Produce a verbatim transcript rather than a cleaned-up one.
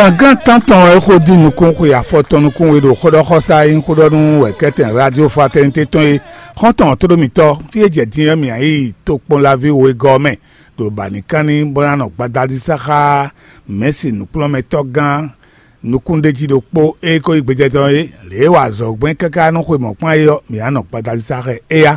Gǎngán tántɔn wɛ é xo dín nukún xwe afɔtɔn nukún we ɖo xóɖɔxɔsá e nyí xóɖɔnú wɛ̌kɛ́tɛn Radio Fraternité tɔn é. Xɔ́ntɔn tóɖómítɔ́, fí e jɛ din ɔ́, mǐ yi tokpɔnlaví wegɔ́ ɔ́ mɛ ɖo bǎnikánní bó ná nɔ gbadadísá xá mɛ̌si nǔkplɔ́nmɛtɔ́gán nukúnɖéjí ɖokpó e ko nyí gbejɛtɔ́ é, lě e wa azɔ̌ gbɛn káká nú xwe mɔ̌kpán é ɔ́, mǐ ná nɔ gbadadísá xá ɛ é yá.